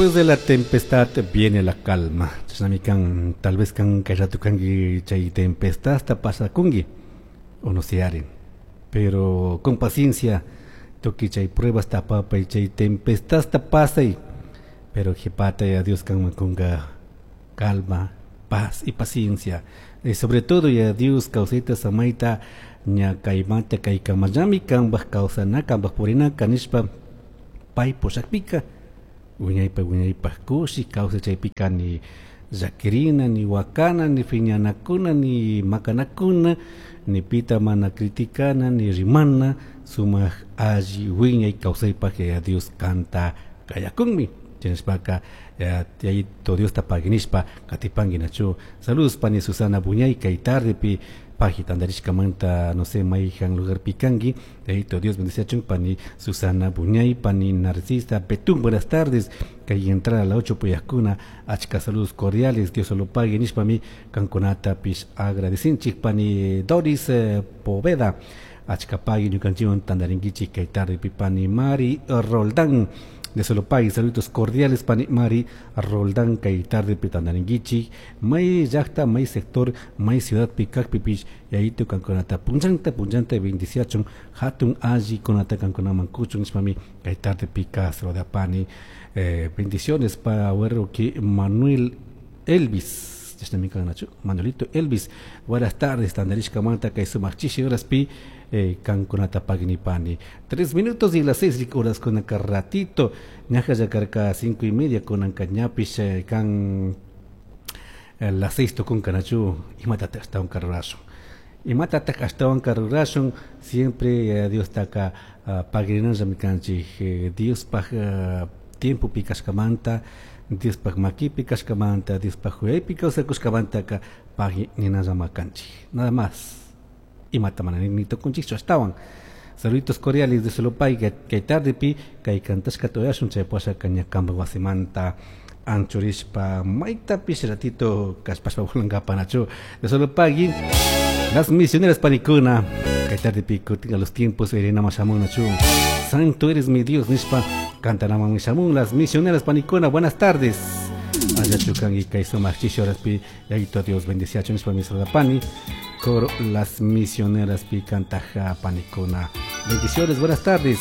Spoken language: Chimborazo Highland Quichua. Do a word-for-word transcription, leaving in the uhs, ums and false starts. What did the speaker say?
Después de la tempestad viene la calma. Chashnami kan, tal vez kan kay rato kanki chay tempestad ta pasakunki o no se haren. Pero con paciencia tukuy chay pruebas tapapay chay tempestad ta pasay. Pero qhipata ya Dios kanman kunka calma, paz y paciencia. Y sobre todo ya Dios kawsayta samayta ña kaymanta kaykamallami kanpaj kawsana kanpaj purinaka nishpa pay pushakpika wiñaypaj wiñaypaj kushi kawsay chaypika ni llakirina ni wakana ni phiñanakuna ni makanakuna ni pita mana criticana ni rimana sumaq alli wiñay kawsaypaj ya Dios kanta kayakunmi chinashpaka Yayito Diosta pagui nishpa katipanki nachu. Saludos pani Susana Buñay kay tardepi pagi tandarishkamanta no sé mayjan lugarpi kanki. Yayito Dios bendiciachun pani Susana Buñay, pani Narcisa Betún, buenas tardes. Kay entrar a la ocho puyakuna, achka saludos cordiales, Dios lo pague nishpami kankunatapish agradecinchik pani Doris eh, Poveda. Achka pagui ñukanchikwan tandarinkichik kay tardepi pani Mari Roldán. De solo pagui, saludos cordiales pani Mari Roldán kay tardepi tandarinkichik may llaqta may sector may ciudad kakpipish Yayito kankunata punchanta punchanta bendiciachun hatun alli kunata kankunaman kuchun nishpami kay tardepi saludapani. Eh, bendiciones para que Manuel Elvis chashnami kan nachu Manuelito Elvis, buenas tardes tandarishkamanta kay sumaq chishi horaspi eh, kankunata pagui nipani. Tres minutos y las seis horas con acá ratito ñaja yakarka cinco y media con anka ñapish eh, kan eh, las seis tukunka nachu imatataq ashtawan karurashun imatataq ashtawan karurashun siempre eh, Diostaka uh, paguinallami kanchik eh, Diospaj uh, tiempopi kashkamanta Diospaj makipi kashkamanta Diospaj huyaypi kawsakushkamantaka pagui ninallama kanchik nada más imata mana ni tukunchikchu ashtawan. Saluditos cordiales de Solopay kay tardepi kay kantashka tuyashun chay pashaka ña kanpak wasimanta anchurishpa maytapish ratito kallpashpa volankapa nachu de Solopay las misioneras panikuna kay tardepi kutin a los tiempos irinama shamun nachu Santo eres mi Dios nishpa kantanaman shamun las misioneras panikuna. Buenas tardes Allachu kanki kay sumaq chishi horaspi Yayito Dios bendiciachun nishpa mi saludapani coro las misioneras pi kantaja panikuna. Bendiciones, buenas tardes.